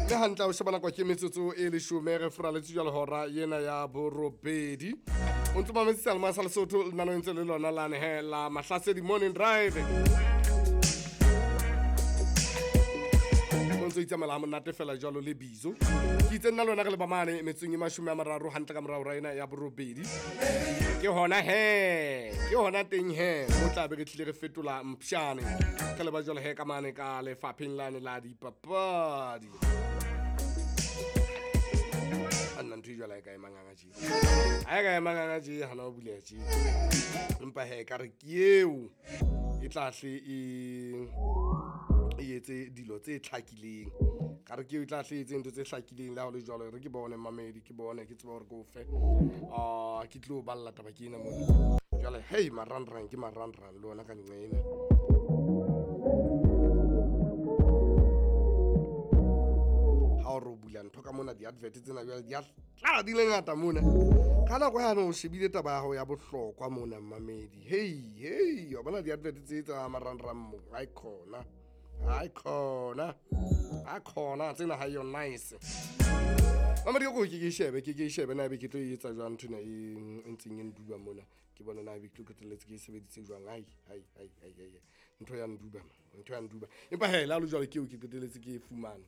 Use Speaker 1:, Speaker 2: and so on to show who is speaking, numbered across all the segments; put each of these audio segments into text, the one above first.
Speaker 1: Mme hantle o sheba nako ke metsotso e leshome re furaletse jwale hora ena ya borobedi. O ntse mametse seyalemoya sa Lesotho lenaneo ntse le lona lane he la Mahlasedi Morning Drive. O ntse o itsamaela ha monate fela jwalo le bizo. Ke itse nna le wena re le ba mane metsong e 30 hantle ka morao hora ena ya borobedi. Ke hona he, ke hona teng he, mo tla be re tlile re fetola mpshane. Re le ba jwalo he ka mane ka lefapheng lane la dipapadi. A nna ntho e jwale ha e ka e manganga tje. Ha e ka e manganga tje hana ho buleha tje. Empa he ka re ke eo e tla hle e etse dilo tse tlhakileng. Ka re ke eo e tla hle e etse ntho tse hlakileng le ha ho le jwalo re ke bone mamedi ke bone ke tsebe hore ke o fe. Ke tlo balla taba ke ena mona. Jwale hey marangrang ke marangrang le ona ka nqena. Ha o re o bula ntho ka mona di-advert tsena jwale di a tlala di le ngata mona. Ka nako yane o shebile taba ya hao ya bohlokwa mona mamedi. Hey hey wa bona di-advert tse tsa marangrang mo. Hai khona. Hai khona. Ha khona tsena ha yo nice. Mamedi ko ke shebe ke shebe na be ke tlo etsa jwang nthona e ntseng e nduba mona. Ke bona na be ke tlo qetelletse ke e sebeditse jwang. Ai ai ai ai ai. Ntho ya nduba ntho ya nduba. Empa he la lo jwale ke eo ke qetelletse ke e fumane.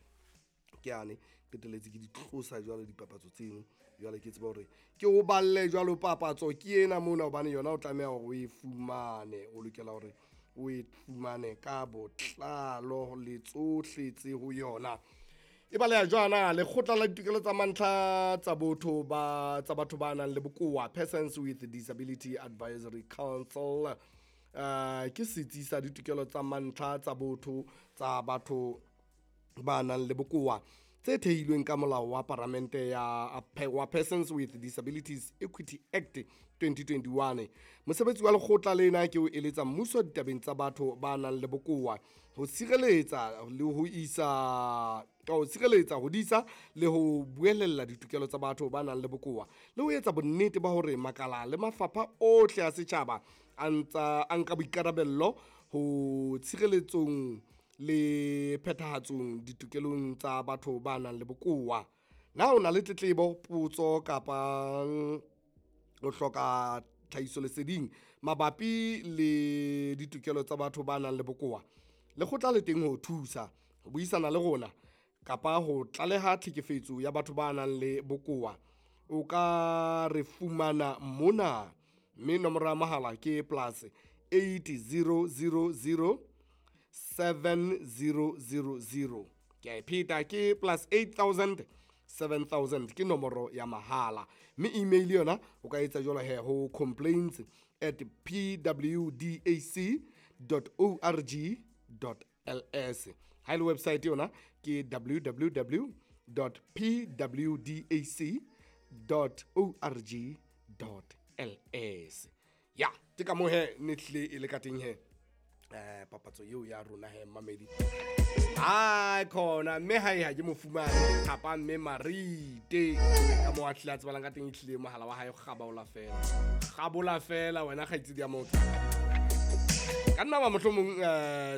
Speaker 1: Ke ane qetelletse ke di tlosa jwalo dipapatso tseno. Jwale ke tseba hore ke o balle jwalo papatso ke ena mona hobane yona o tlameha hore o e fumane. O lokela hore o e fumane ka botlalo le tsohle tse ho yona. E baleha jwana lekgotla la ditokelo tsa mantlha tsa botho ba tsa batho ba nang le bokowa Persons with Disability Advisory Council. Ke setsi sa ditokelo tsa mantlha tsa botho tsa batho ba nang le bokowa tse thehilweng ka molao wa paramente ya wa Persons with Disabilities Equity Act 2021. Mosebetsi wa lekgotla lena ke o eletsa mmuso ditabeng tsa batho ba nang le bokowa ho sireletsa le ho isa ho sireletsa ho disa le ho buelella ditokelo tsa batho ba nang le bokowa le ho etsa bonnete ba hore makala le mafapha ohle a setjhaba a ntsa a nka boikarabello ho tshireletsong le phethahatsong ditokelong tsa batho ba nang le bokowa. Na o na le tletlebo, potso kapa o hloka tlhahisoleseding mabapi le ditokelo tsa batho ba nang le bokowa? Lekgotla le teng ho thusa, ho buisana le rona kapa ho tlaleha tlhekefetso ya batho ba nang le bokowa. O ka re fumana mona mme nomoro ya mohala ke plus 8000 7000. Ke a e pheta ke plus 8000 7000 ke nomoro ya mahala. Mme email yona o ka etsa jwalo he ho complaints@pwdac.org.ls. Ha ile website yona ke www.pwdac.org.ls. Ya, ke ka moo he ne tlile e le ka teng he. Papatso eo ya rona he mamedi. Ai khona mme ha e ha ke mo fumane kapa mme Marite ka mo a tlile a tsebalang ka teng e tlile mohala wa hae kgabaola fela. Kgabola fela wena kgaitsedi ya motho. Ka nna ba mohlomong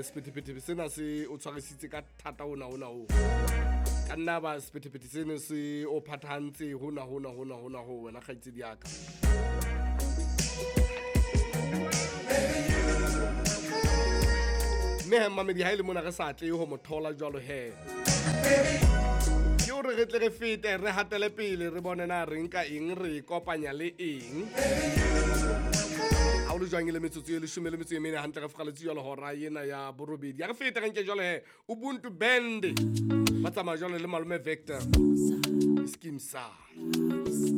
Speaker 1: sephethephethe sena se o tshwarisitse ka thata hona hona ho. Ka nna ba sephethephethe sena se o phathahantse hona hona hona hona ho wena kgaitsedi ya ka. Mme mamedi ha ile mona re sa tle ho mo thola jwalo he. Ke hore re tle re fete re hatele pele re bone na re nka eng re kopanya le eng. Ha o le jwang le metsotso e 14 hantle re fgaletse jwalo hora ena ya borobedi. Ya re fete re nke jwalo he Ubuntu Band ba tsamaya jwalo le malome Vector. Skeem Saam.